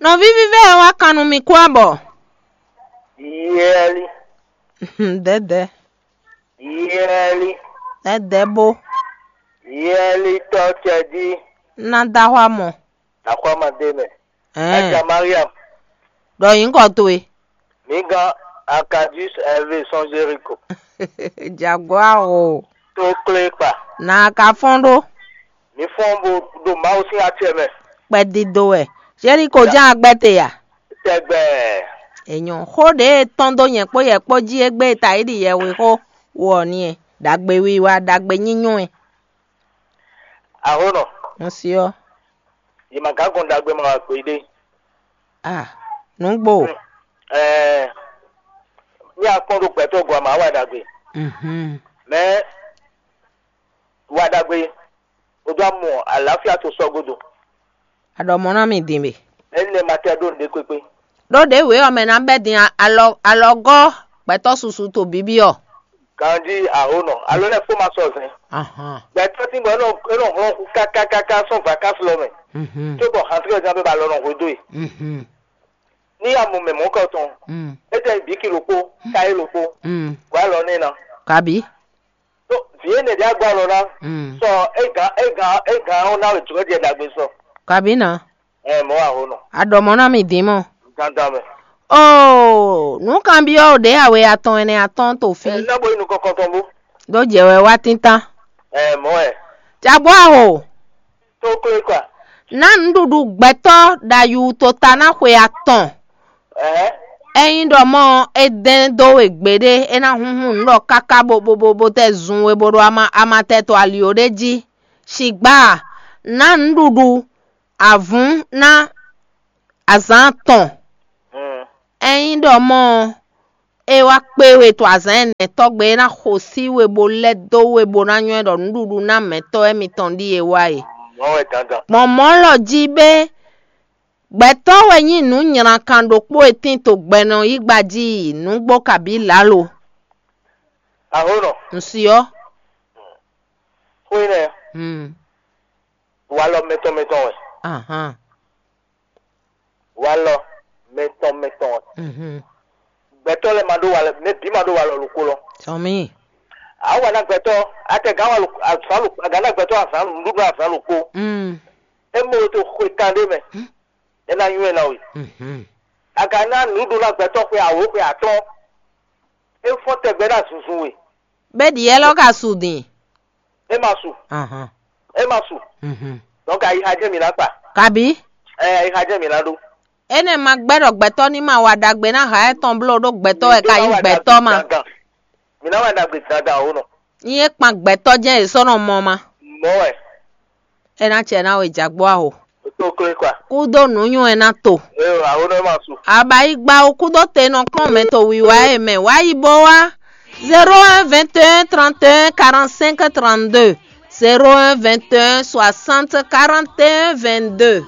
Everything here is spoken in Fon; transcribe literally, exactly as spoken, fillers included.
Nɔví vívɛ́ ɔ́ wá kan nú mì kú abɔ. Yɛli, Dɛ̌dɛ̌, yɛli, dɛ̌dɛ̌ bó, yɛli tɔ́ cɛjí. Ná dó axwá mɔ. Axwámadé mɛ. Ɛɛ, Aja Mariam, ɖɔ nyǐkɔ towe. Mi gán Akadis Ɛvé sɔ́n Zeriko. Jaguar o. Tó klé kpa. Nǎ ka fɔ́n ɖó. Mi fɔ́n bo ɖo Mawu sín acɛ mɛ. Kpɛdídó wɛ. Zeriko ján agbɛ́ te a? Tɛgbɛ. Ènyɔ́ xó ɖě e tɔ́n dó nyɛ kpó yɛ kpó jí égbé e ta yi ɖi yɛhwe xó wo ɔ́ n'i e. Ɖagbe wiwa, ɖagbe nyínyɔ́ e. Ahónɔ, Un si ɔ́. Yě ma gán gɔn ɖagbe ma wá gbeɖé. Ah, nǔgbó. Ɛɛ, ní akpɔ́n ɖo gbɛtɔ́ gɔ́ ma wá ɖagbe. Mhm. Mɛ wá ɖagbe, o dó amɔ àlàáfíà tó sɔ́ gúdo. Aɖɔ mɔ ná mi din be. Énɛ́ ma tɛ ɖó nǔɖé kpékpé. Ɖó ɖěwe ɔ́ mɛ ná bɛ́ din alɔ alɔgɔ́ gbɛtɔ́ susu to bíbí ɔ́. Ganjí ahónɔ, alo lɛ kpó ma sɔ zɛn. Ahan. Gbɛtɔ́ tí bɔ é nɔ é nɔ hlɔ́n xú kákákáká sɔ́ vakási lɔ mɛ. Mhm. Cóbɔ hantlɛ jan bɛ ba lɔ nɔ hwedó e. Mhm. Ní ya mɔ mɛ mɔ̌kɔ tɔn, Mm. É tɛ bǐ ki ɖokpó, ka é ɖokpó. Mm. Gɔ̌ alɔ n'i ná. Kabi. Tó vǐ énɛ́ ɖé agbá lɔ ná. Mm. Sɔ é gǎn é gǎn é gǎn ɔ́ ná wɛ jǒ jɛ ɖagbe sɔ. Kabi ná. Ɛ mɔ̌ wa ho nɔ. Aɖɔ mɔ ná mi dín mɔ. Dandan mɛ. Oo, nǔkanbyɔ́ ɖě awe atɔn ɛnɛ atɔn to fí. Ɛ ná bo yi nukɔn kɔntɔn bó. Ɖó jɛ wɛ wá tíntán. Ɛ mɔ̌ wɛ. Jagbó aho. Tó klé kɔ. Ná nǔɖuɖu gbɛtɔ́ ɖo ayu to ta ná xwe atɔn. Ɛhɛn. Ényí ɖɔ mɔ é dɛn dó we gbeɖé, é ná húnhún nǔ ɖɔ káká bo bo bo bo tɛ zun we bo ɖo ama amatɛ to ali ó ɖé jí. Shigbá, ná nǔɖuɖu avǔn ná azǎn atɔn. Mm. Ényí ɖɔ mɔ é wá kpé we to azǎn ɛnɛ tɔ́gbé, é ná xo sí we bo lɛ́ dó we bo ná nywɛ́ ɖɔ nǔɖuɖu ná mɛ̌tɔ́ émítɔn ɖíe wá e. Mɔ̌ wɛ dandan. Gbɔn mɔ̌ lɔ jí bé, gbɛtɔ́ wɛ nyí nǔ nylǎkan ɖokpó e tín to gbɛnɔ yí gba jí nǔgbó kabǐ lǎlo. Ahónɔ, Un si ɔ́. Xwé nɛ, Hmm. Walɔ mɛtɔn mɛtɔn wɛ. Ahan. Walɔ mɛtɔn mɛtɔn wɛ. Mhm. Gbɛtɔ́ lɛ ma ɖó walɔ, mɛ bǐ ma ɖó walɔ ɖokpó lɔ. Sɔmi. Awa ná gbɛtɔ́, atɛ gǎn walɔ azǎn lɔ, gǎn ná gbɛtɔ́ azǎn nǔɖuɖu azǎn ɖokpó. Mm. É mɔ to xwe kan ɖé mɛ. Hmm. É ná nywɛ́ ná we. Mhm. Aga ná nǔɖuɖu ná gbɛtɔ́ xwe awǒ xwe atɔ́ɔ́n. É fɔ́n tɛgbɛ ná zunzun we. Bɛ ɖi yɛ lɔ ka su din. É ma su. Ahan. É ma su. Mhm. Donc ayixa jẹ́ mi ná kpa. Kabi. Ɛ ayixa jẹ́ mi ná ɖó. Énɛ́ ma gbɛ́ ɖɔ gbɛtɔ́ ní ma wa ɖagbe ná ha ɛtɔn bló ɖó gbɛtɔ́ wɛ ka nyí gbɛtɔ́ ma. Mi ná wa ɖagbe dandan o nɔ. Ní é kpan gbɛtɔ́ jɛ́n è sɔ́ nɔ mɔ ma. Mɔ̌ wɛ. É ná cɛ ná we jagbó aho. Tó klé kpa. Kúdó nǔnywɛ́ ná to. Ɛ o, aho nɔ ma su. Abayigba o kúdó te nɔ kpɔ́n mɛ to wiwa e mɛ wá yi bó wá. Zéro un vingt et un trente et un quarante-cinq trente-deux. Zéro un vingt et un soixante quarante et un vingt-deux.